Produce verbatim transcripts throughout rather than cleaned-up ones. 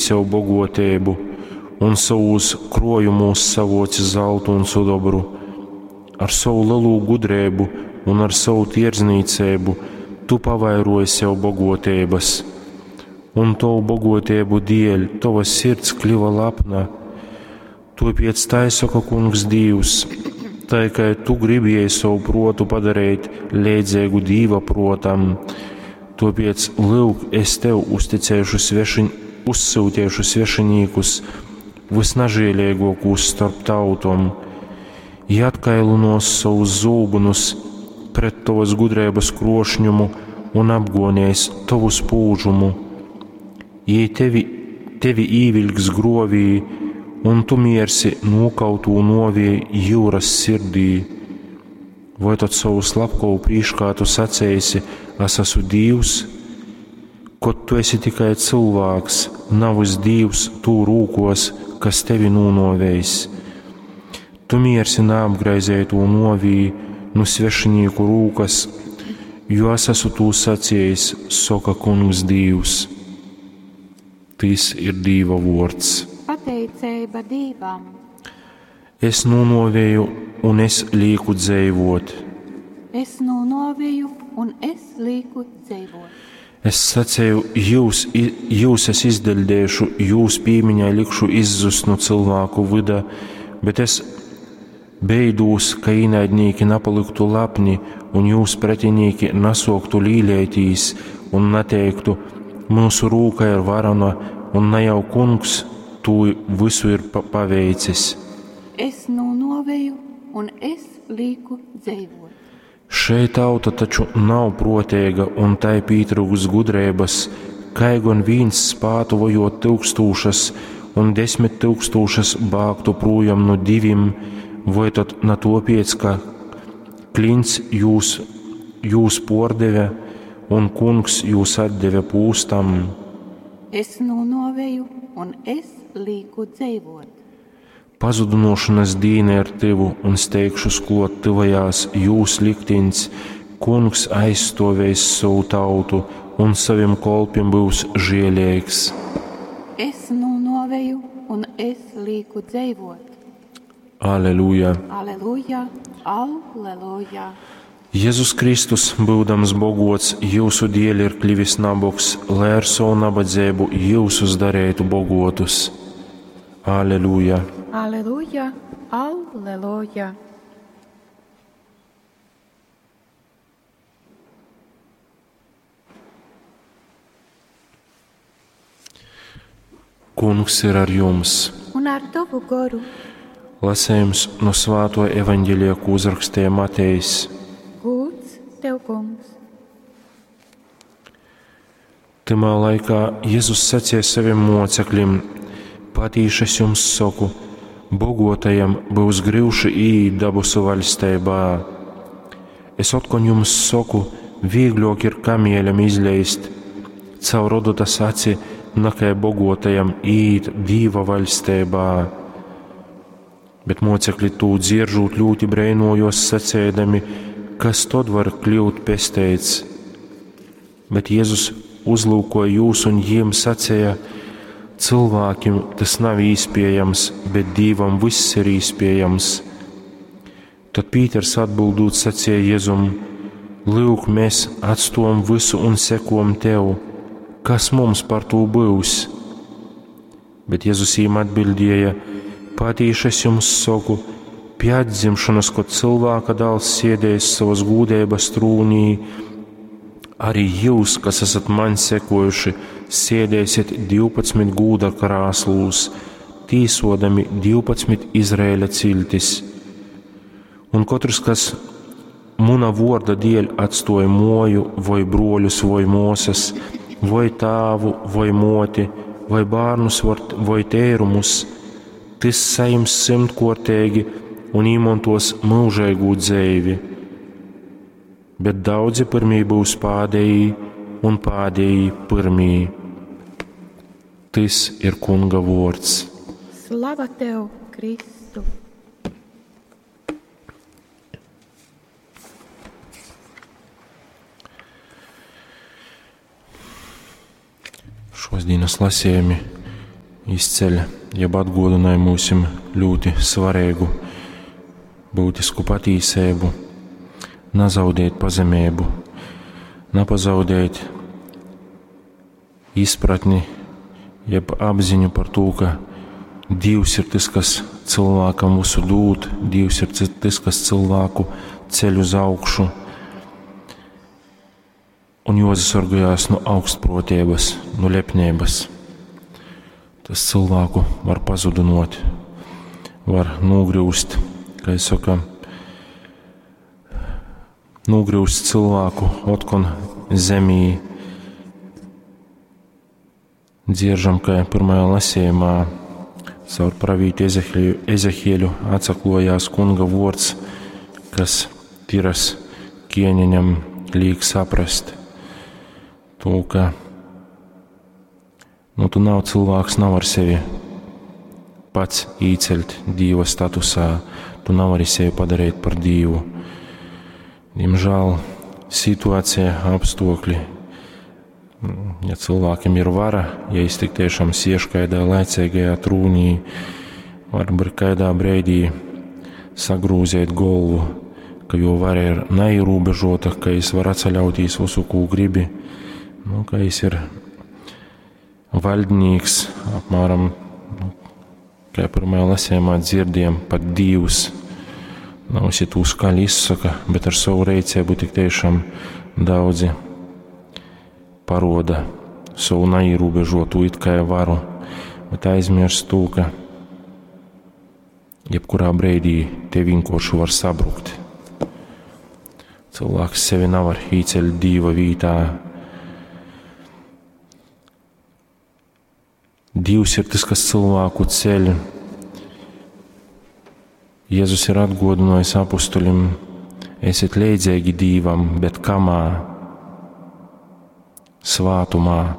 Sev boguoteibu un sovūs kruojumūs savuoci zaltu un sudobru. Ar sovu lelū gudreibu un ar sovu tierdznīceibu tu pavairuoji sev boguoteibys. Un tovu boguoteibu dēļ tova sirds kliva lepna. Tuopiec tai soka Kungs Dīvs: tai kai tu gribieji sovu pruotu padareit leidzeigu Dīva pruotam, tuopiec, lyuk, es tev uzticēšu svešin, uzsyuteišu svešinīkus, vysnažieleiguokūs storp tautom. Jī atkailynuos sovus zūbynus pret tovys gudreibys kruošņumu un apguonēs tovu spūžumu. Jī tevi, tevi īviļks gruovī, un tu miersi nūkautū nuovī jiurys sirdī. Voi tod sovu slapkovu prīškā tu saceisi: Es esmu Dīvs, kod tu esi tikai cylvāks, navys Dīvs tū rūkuos, kas tevi nūnuoveis? Tu miersi naapgraizeitū nuovī nu svešinīku rūkas, jo es esmu tū saciejis, soka Kungs Dīvs. Tys ir Dīva vuords. Pateiceiba Dīvam. Es nūnuovēju un es līku dzeivuot. Es nūnuovēju un es līku dzeivuot. Es saceju, jūs, jūs es izdeļdēšu, jūs pīmiņai likšu izzust nu cylvāku vyda, bet es beidūs, ka īnaidnīki napalyktu lepni un jūs pretinīki nasuoktu līleitīs un nateiktu: mūsu rūka ir varena un ne jau Kungs tū visu ir pa paveicis. Es nūnuovēju un es līku dzeivuot. Šei tauta taču nav pruoteiga un tai pītryukst gudreibys, kai gon vīns spātu vojuot tyukstūšys un desmit tyukstūšys bāgtu prūjom nu divim, voi tod na tuopiec, ka klints jūs, jūs puordeve un Kungs jūs atdeve pūstam? Es nūnuovēju un es līku dzeivuot. Pazudynuošonys dīna ir tyvu un steigšus kluot tyvojās jūs liktiņs, Kungs aizstuovēs sovu tautu un sovim kolpim byus žieleigs. Es nūnuovēju un es līku dzeivuot. Aleluja! Aleluja! Aleluja! Jezus Kristus, byudams bogots, jiusu dieļ ir klivis nabogs, lai ar sovu nabadzeibu jiusus dareitu bogotus. Aleluja! Aleluja! Aleluja! Kungs ir ar jums! Un ar tovu goru. Lasējums no Svāto evaņģelija, ko uzrakstīja Matejs. Gūds tev, Kungs! Tymā laikā Jezus sacīja saviem mocekļiem: Patīši es jums saku, bogotajam byus gryuši īīt dabasu vaļsteibā. Es otkon jums saku, vīgļuok ir kamieļam izleist caur odotas aci, nakai bogotajam īīt Dīva vaļsteibā. Bet mocekļi tū dzieržūt ļūti breinojos, saceidami: kas tod var kļūt pesteits? Bet Jezus uzlūkoja jūs un jiem sacīja: cilvēkim tas nav īspējams, bet Dīvam viss ir īspējams. Tad Pīters atbildūt sacīja Jezum: Lūk, mēs atstojam visu un sekojam tev, kas mums par to būs? Bet Jezus viņam atbildēja: Patīši es jums saku, pie atdzimšanas, kad cilvēka dēls sēdēs savas gūdības trūnī, arī jūs, kas esat man sekojuši, sēdēsiet divpadsmit gūda krāslūs, tīsodami divpadsmit Izraēļa ciltis. Un katrs, kas muna vorda dēļ atstoja moju, vai broļus, vai mosas, vai tāvu, vai moti, vai bērnus, vai tērumus, tys sajims simtkuortīgi un īmontos mūžīgu dzeivi. Bet daudzi pirmī būs pādējī un pādējī pirmī. Tys ir Kunga vords. Slava tev, Kristu! Šos dienas lasījumi izceļ, jeb atguodynoj mūsim ļoti svarīgu, būtisku patīseibu, nazaudēt pazemību, napazaudēt izpratni, jeb apziņu par to, ka Dievs ir tas, kas cilvēkam visu dod, Dievs ir tas, kas cilvēku ceļ uz augšu, un jozasargājās no augstprotības, no lepnības. Tas cilvēku var pazudinot, var nogriūst, kā es saku, nogriūst cilvēku otkon zemī. Dzieržam, ka pirmajā lasījumā caur pravītu Ezehieļu atsaklojās kunga vords, kas tiras ķieņeņam liek saprast to, ka nu, tu nav cilvēks, nav ar sevi pats īceļt Dieva statusā, tu nav arī sevi padarīt par Dievu. Diemžēl situācija, apstākļi, ja cilvēkam ir vara, ja viņš tik tiešām siež kādā laicīgajā trūnī, var kādā brīdī sagrūzēt galvu, ka jo vara ir neierobežota, ka viņš var atsaļauties visu, ko gribi, nu, ka viņš ir valdnieks, apmēram, nu, kā pirmajā lasījumā dzirdējam, pat Dievs. Nav visi to skaļi izsaka, bet ar savu rīcību tik tiešām daudzi paroda savu neierobežotu it kā varu, bet aizmirst to, ka jebkurā brīdī te vienkārši var sabrukt. Cilvēks sevi nevar īceļt Dieva vītā. Dievs ir tas, kas cilvēku ceļ. Jēzus ir atgodinājis apustuļim, esiet leidzīgi Dievam, bet kamā? Svātumā.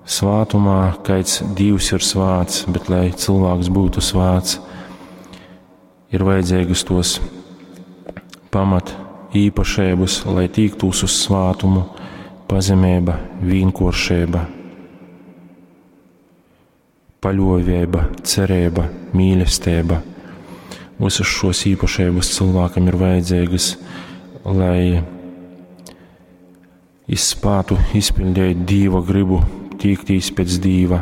Svātumā, kāds Dievs ir svāts, bet lai cilvēks būtu svāts, ir vajadzīgas tos pamat īpašības, lai tīktūs uz svātumu, pazemība, vienkāršība, paļovība, cerība, mīlestība. Visas šos īpašības cilvēkam ir vajadzīgas, lai izspētu izpildīt Dieva gribu, tīktīs pēc Dieva.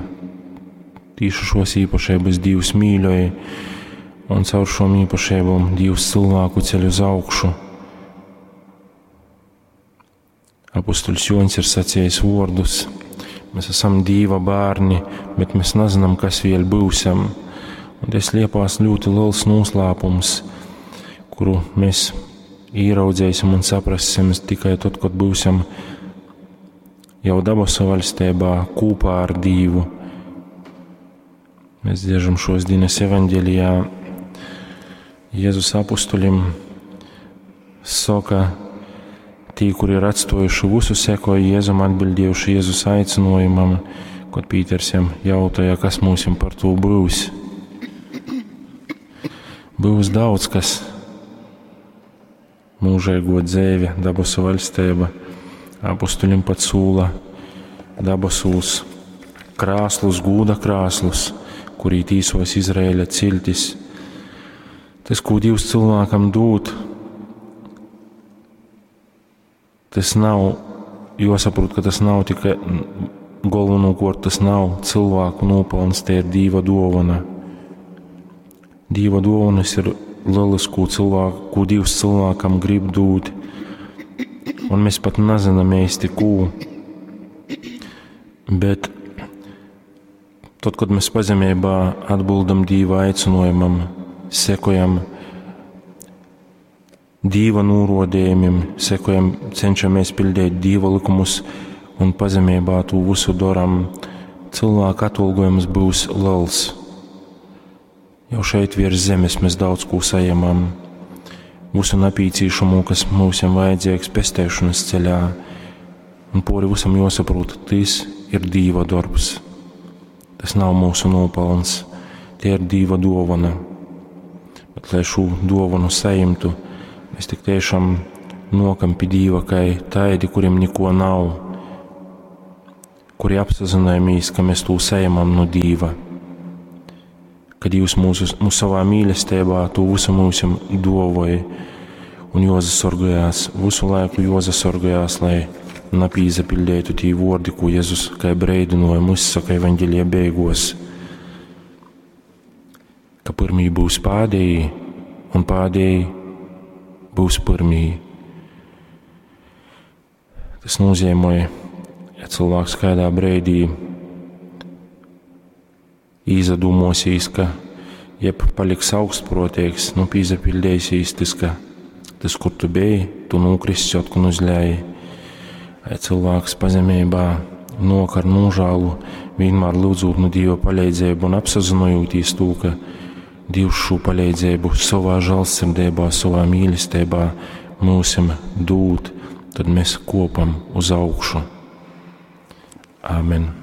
Tieši šos īpašības Dievs mīļoja, un caur šom īpašībām Dievs cilvēku ceļ uz augšu. Apustuļs Joņs ir sacījis vārdus: mēs esam Dieva bērni, bet mēs nezinām, kas vēl būsim. Un te slēpās ļoti liels noslēpums, kuru mēs ieraudzēsim un saprassim tikai tad, kad būsim jau dabasu valstībā kopā ar Dievu. Mēs dziežam šos dienas evaņģēlijā. Jēzus apustuļim saka, tī, kuri ir atstojuši visu, sekoja Jēzum, atbildējuši Jēzus aicinājumam, kad Pīters jam jautāja, kas mūsim par to būs. Būs daudz kas. Mūžīgo dzīve, dabasu valstība, apustuļim pat sūla dabasūs krāslus, gūda krāslus, kurī tīsos Izraēļa ciltis. Tas, ko Dievs cilvēkam dod, tas nav, jāsaprot, ka tas nav tikai galvenokārt, tas nav cilvēku nopelns, te ir Dieva dāvana. Dieva dāvanas ir lielas, ko, cilvēku, ko Dievs cilvēkam grib dot, un mēs pat nezinām īsti, ko. Bet tad, kad mēs pazemībā atbildam Dieva aicinājumam, sekojam Dieva norodījumiem, sekojam, cenšamies pildīt Dieva likumus un pazemībā to visu darām, cilvēka atalgojums būs liels. Jau šeit virs zemes mēs daudz ko saņemam. Visu napīcīšamo, kas mums vajadzīgs pestēšanas ceļā, un pori visam jāsaprot, tas ir Dieva darbs. Tas nav mūsu nopelns, tie ir Dieva dāvana. Bet, lai šo dāvanu saņemtu, mēs tik tiešām nokam pie Dieva, kā taidi, kuriem neko nav, kuri apsazynojamies, ka mēs tū saņemam no Dīva. Ka Dievs mūsu, mūsu savā mīlestībā to visu mūsim dovoja un jozasorgojās, visu laiku jozasorgojās, lai napīzapildētu tī vordi, ko Jēzus kā breidinājumu izsaka evaņģēlija beigos, ka pirmī būs pādējī un pādējī būs pirmī. Tas nozīmē, ja cilvēks kādā breidī īzadūmosīs, ka jeb paliks augstprotīgs, nu pīzapildēsīs tas, ka tas, kur tu biji, tu nokristi atkal uzļāji. Ai cilvēks pazemībā nok ar nožēlu, vienmēr lūdzot no Dieva palīdzību un apsazinojot to, ka Dievs šo palīdzību savā žēlsirdībā, savā mīlestībā mūsim dod, tad mēs kopam uz augšu. Āmen.